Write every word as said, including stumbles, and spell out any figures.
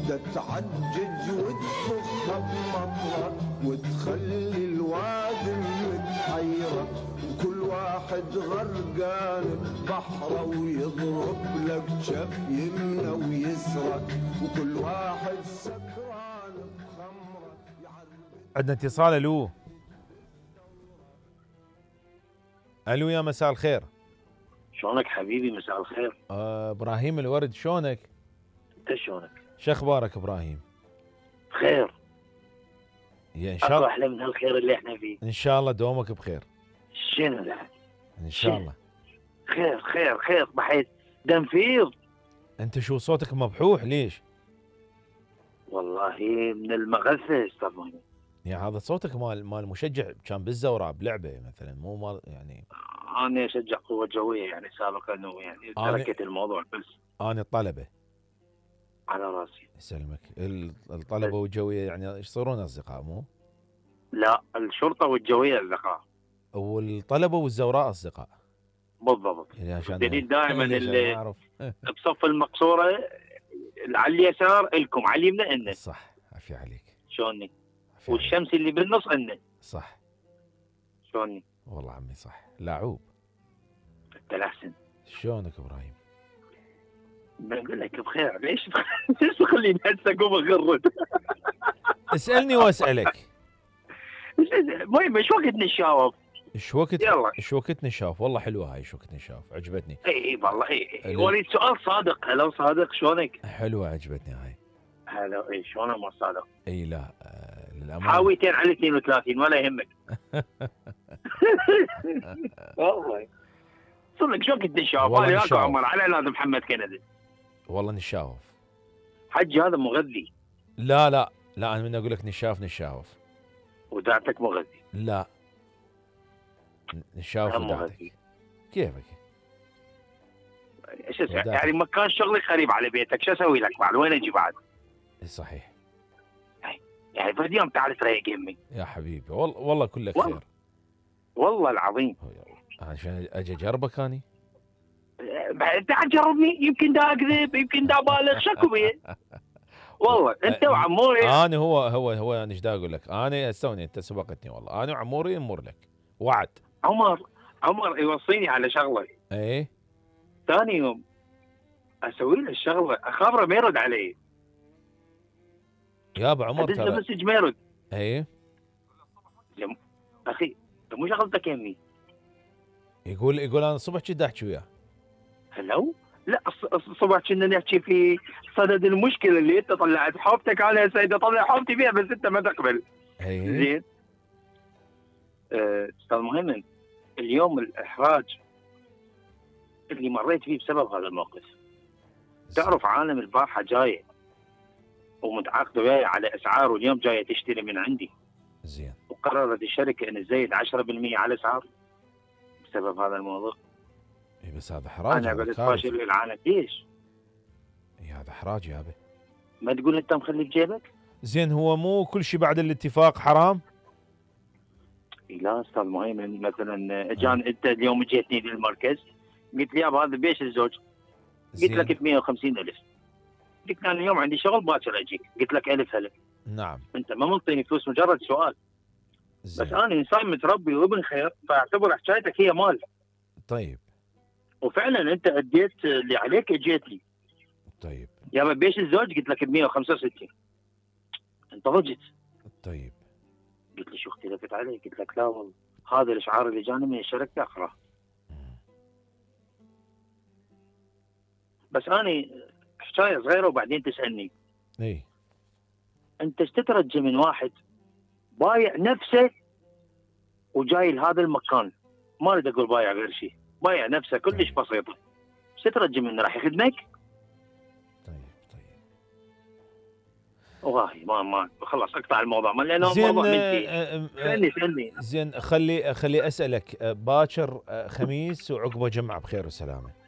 ده تعجج وتفخها بمطرة وتخلي الوادي متحيرة، وكل واحد غرقان ببحره ويضرب لك شف يمنى ويسرى، وكل واحد سكران بخمره. عندنا اتصال. الو الو يا مساء الخير. شلونك حبيبي؟ مساء الخير. آه ابراهيم الورد، شلونك؟ انت شلونك؟ شو اخبارك ابراهيم؟ بخير. يا ان شاء الله. احلى من هالخير اللي احنا فيه. ان شاء الله دومك بخير. شنو ده؟ ان شاء الله. خير خير خير بحيث دنفيض. انت شو صوتك مبحوح ليش؟ والله من المغثة استاذ مهند. يعني هذا صوتك مال مال مشجع كان بالزوراء بلعبه مثلا، مو مال يعني. انا اشجع قوة جوية يعني سابقا، يعني تركت الموضوع بس. انا الطلبة على راسي. يسلمك. الطلبة والجوية يعني ايش يصيرون اصدقاء مو؟ لا، الشرطة والجوية اصدقاء. والطلبة والزوراء اصدقاء. بالضبط. يعني عشان الدليل دائما اللي اعرف بصف المقصورة على اليسار الكم، على اليمنى إنه. صح، عافية عليك. شلوني؟ والشمس اللي بالنص إنه. صح. شلوني؟ والله عمي صح، لاعوب. انت الاحسن. شلونك ابراهيم؟ بقول لك بخير. ليش ليش تخليني هسه اقوم اغرد؟ اسالني واسالك. المهم ايش وقت نشاوب؟ ايش وقت؟ يلا ايش وقت نشاف؟ والله حلوه هاي ايش وقت نشاف، عجبتني. اي اي والله اي. وليد سؤال صادق. هلا صادق شلونك؟ حلوه عجبتني هاي. هلا اي شلونه ما صادق؟ اي لا آه للامانه حاويتين على اثنين وثلاثين ولا يهمك. والله صدق شو قد نشاف؟ انا وياك عمر على اولاد محمد كندي. والله نشاوف حجي هذا مغذي. لا لا لا انا من اقول لك نشاف نشاوف. ودعتك مغذي. لا نشاوف ودعتك. كيفك؟ ايش اسوي؟ يعني مكان شغلي قريب على بيتك، شو اسوي لك بعد؟ وين اجي بعد؟ صحيح. يعني بعد يوم تعال تريق يمي. يا حبيبي والله والله كلك خير. والله العظيم. عشان اجي اجربك اني. تعال جربني، يمكن دا اكذب، يمكن دا بالغ، شكو بيه. والله انت وعموري. انا هو هو هو انا ايش دا اقول لك؟ انا استوني انت سبقتني والله. انا وعموري نمر لك وعد. عمر عمر يوصيني على شغله. ايه ثاني يوم اسوي له الشغله اخابره ما يرد علي. يا ابو عمر ترى مسج ما يرد. ايه جم... اخي مو شغلتك يمي. يقول يقول انا الصبح كنت احكي وياه. هلو؟ لا الصبح كنا نحكي في صدد المشكله اللي انت طلعت حوبتك. انا سيدي اطلع حوبتي فيها بس انت ما تقبل. ايه زين. استاذ أه مهند، اليوم الاحراج اللي مريت فيه بسبب هذا الموقف. تعرف عالم البارحه جايه ومتعاقده وياي على اسعار، واليوم جايه تشتري من عندي. زين. وقررت الشركه ان تزيد عشرة بالمئة على الاسعار بسبب هذا الموضوع. اي بس هذا حراج. انا قلت فاشل للعالم. ليش؟ اي هذا حراج يا ابي. ما تقول انت مخلي بجيبك؟ زين هو مو كل شيء بعد الاتفاق حرام؟ لا استاذ مهيمن، مثلا اجان انت اليوم جيتني للمركز قلت لي يابا هذا بيش الزوج؟ قلت لك ب مئة وخمسين ألف. قلت انا اليوم عندي شغل باكر اجيك. قلت لك الف هلا. نعم. انت ما منطيني فلوس، مجرد سؤال. زين. بس انا انسان متربي وابن خير، فاعتبر حكايتك هي مال. طيب. وفعلا انت اديت اللي عليك اجيت لي. طيب. يابا بيش الزوج؟ قلت لك ب مئة وخمسة وستين. انت ضجت. طيب. قلت لي شو اختلفت علي؟ قلت لك لا والله هذا الاشعار اللي جاني من الشركه اقراه. بس انا حكايه صغيره وبعدين تسالني. اي انت ايش تترجى من واحد بايع نفسه وجاي لهذا المكان؟ ما اريد اقول بايع غير شيء، بايع نفسه كلش بسيطه. ايش تترجى منه؟ راح يخدمك؟ طيب طيب والله ما ما خلاص اقطع الموضوع ما لانه موضوع منتهي. سالني سالني. زين خلي خلي اسالك باكر خميس وعقبه جمعه بخير وسلامه.